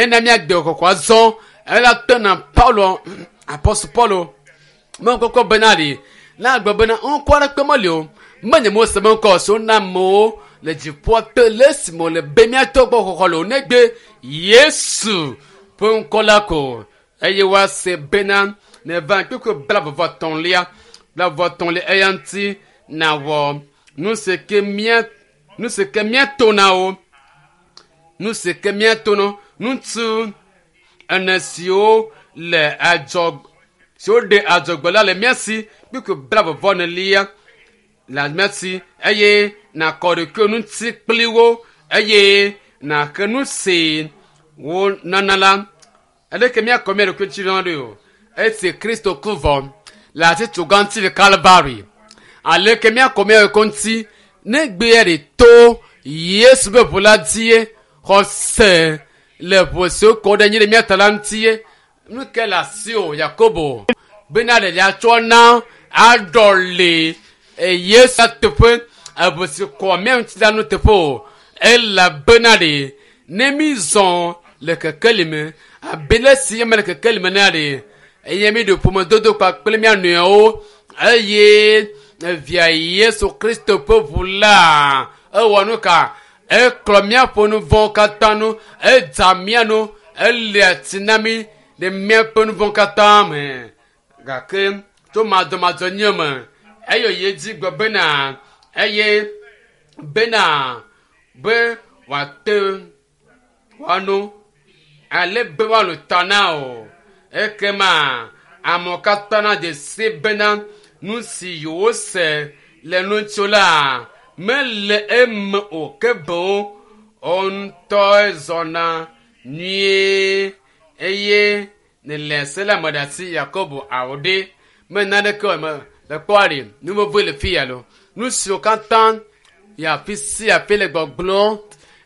Ne míagbe kɔkɔ azɔ ela tena Paulo, Apɔstol Paulo mekɔkɔ bena ɖi na gblɔ bena ŋkɔ aɖeke meli o, menye Mose be ŋkɔ si wona amewo le dziƒoa te le esime wòle be míatɔ gbɔ xɔxɔ le o negbe Yesu ƒe ŋkɔ la ko. Eye woase bena neva kpekpe 33, 33 eya ŋuti nawɔ nu si ke mía nu si ke míato na wo, nu si ke míato na ŋutsu ene siwo le adzɔ siwo ɖe adzɔgbe la le mía si kpekpe 44 le mía si eye nakɔ ɖokuiwò ŋuti kpli wo eye nàxe nu si wonana la. Aleke míakɔ mía ɖokui ŋuti na ɖo o? Esi Kristo ku vɔ le atitsoga ŋuti le Kalvari, aleke míakɔ mía ɖokui ŋuti ne gbea ɖe to Yesu ƒe ʋu la dzie, xɔse le ʋu si wokɔ ɖe anyi ɖe mía ta la ŋutie? Nu ke le asiwò, Yakobo, bena ɖeɖia tsɔ na aɖɔli Yesu teƒe, eʋu si kɔ mía ŋuti la nuteƒe o, elabena ɖe ne mízɔ le kekeli me abe le si eme le kekeli me nea ɖe eye míɖo ƒomedodo kpakple mía nɔewo eye via Yesu Kristo ƒe ʋu la ewɔ nu ka? Eklɔ míaƒe nu vɔ̃wo katã nu, edza mía nu, elia tsi na mí ɖe míaƒe nu vɔ̃ katã me. Gake tso madzɔmadzɔnye me eye wòyi edzi gblɔ bena eye bena be wòate woano ale be woano ta na o. Ekema amewo katã nadze si bena nu si yewose le ŋutsu la mele eme o ke boŋ wo ŋutɔe zɔna nyuie eye nele se la me ɖe asi Yakobo awo ɖe me naneke o me le kpɔa ɖe nu vevie le fi ya lo. Nu siwo katã yi afi sia afi le gbɔgblɔm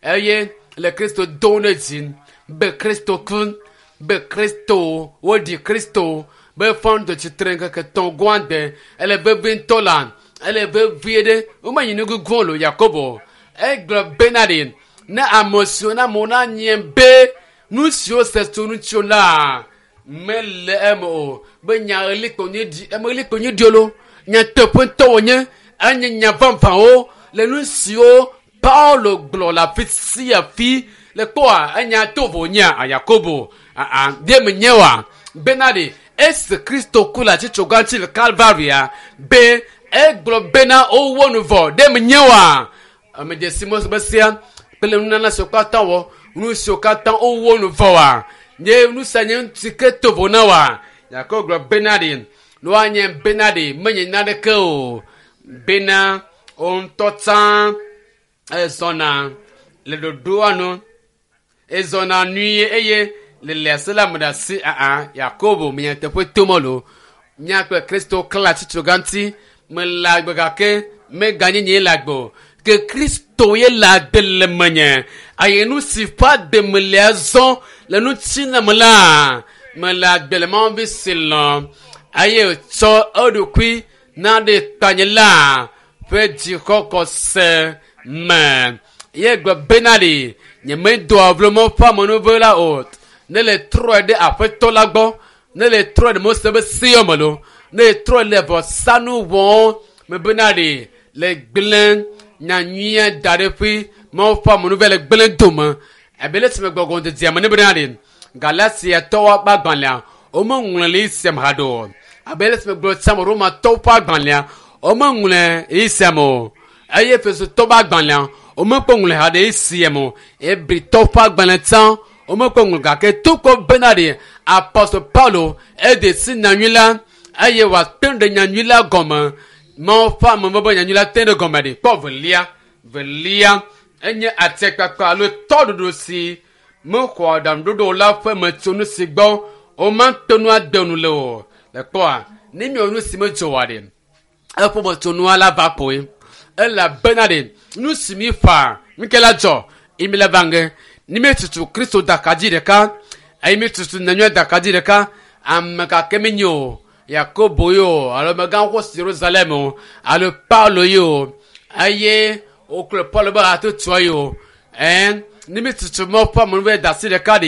eye le Kristo dom ɖe dzi be Kristo ku, be Kristo woɖi Kristo be fɔ ŋdɔ tsitre ŋkeke tɔ̃ goa de ele vevie ŋutɔ la ele vevie ɖe womenyi nu gugu lo Yakobo egblɔ bena ɖe ne ame siwo na amewo nanye be nu siwo se tso ŋuti la mele eme o be nya ɣli kpo nye ɖi eme ɣli kpo nye ɖi lo nyateƒe ŋutɔ wònye enye nya vavãwo le nu siwo Paulo gblɔ le afi sia fi le kpɔa enya to vo nyea Yakobo aa ɖe menye wa bena ɖe esi Kristo ku le atitsoga ŋuti le Kalvaria be egblɔ bena wowɔ nu vɔ ɖe menye wa ame dzesi Mose be sia kple nunana siwo katã wɔ nu siwo katã wowɔ nu vɔ wa nye nu sia nye ŋuti ke to vo na wa Yakobo gblɔ bena ɖe ne woanye bena ɖe menye naneke o bena wo ŋutɔ tsã ezɔna le ɖoɖoa nu ezɔna nyuie eye le le ase la me ɖe asi aa Yakobo menye teƒe tom lo mía kple Kristo klã atitsoga ŋuti mele agbe gake meganye nye le agbe o ke Kristo ye le agbe le menye eye nu si ƒe agbe mele azɔ le ŋutinã me la mele agbe le Mawu vi si lɔ̃ eye wòtsɔ eɖokui na ɖe tanye la ƒe dzixɔxɔse me ye gblɔ bena ɖe nyemedoa vlo Mawu ƒe amenuveve la o ne le trɔe ɖe aƒetɔ la gbɔ ne le trɔe ɖe Mose be sewo me lo ne le trɔe le vɔsanu wɔm me bena ɖe le gblẽ nyanyuia da ɖe ƒe Mawu ƒe amenuveve le gblẽ dome abe le si me gbɔgbɔ dedea me ne bena ɖe Galatiatɔwo ƒe agbalẽa womeŋlɔe le esia me haɖe o abe le si me gblɔ tsã me Romatɔwo ƒe agbalẽa womeŋlɔe esia me o eye Efesotɔwo ƒe agbalẽa womekpɔ ŋlɔe haɖe esia me o Hebritɔwo ƒe agbalẽ tsã womekpɔ ŋlɔe gake tokɔ bena ɖe Apɔstol Paulo eɖe si nyanyui la eye wòate ɖe nyanyui la gɔme Mawu ƒe amenuveve nyanyui la te ɖe gɔme ɖe kpɔ velia velia enye atikpakpa alo tɔɖuɖu si mexɔ aɖaŋuɖoɖo la ƒe metsonu si gbɔ womate ŋu ade nu le o le kpɔa ne miewɔ nu si medzɔ oa ɖe eƒe metsonua la va kpoe elabena ɖe nu si mi ƒã nu ke la dzɔ eye mi la va ŋge ne mi tutu Kristo daka dzi ɖeka eye mi tutu nyanyui daka dzi ɖeka ame gake mi nye o Yakobo ye o alo amegãxoxo si Yerusalem o alo Paulo ye o eye wokplɔ Paulo be hatotoa ye o ɛn ne mi tutu Mawu ƒe amenuveve da asi ɖeka ɖe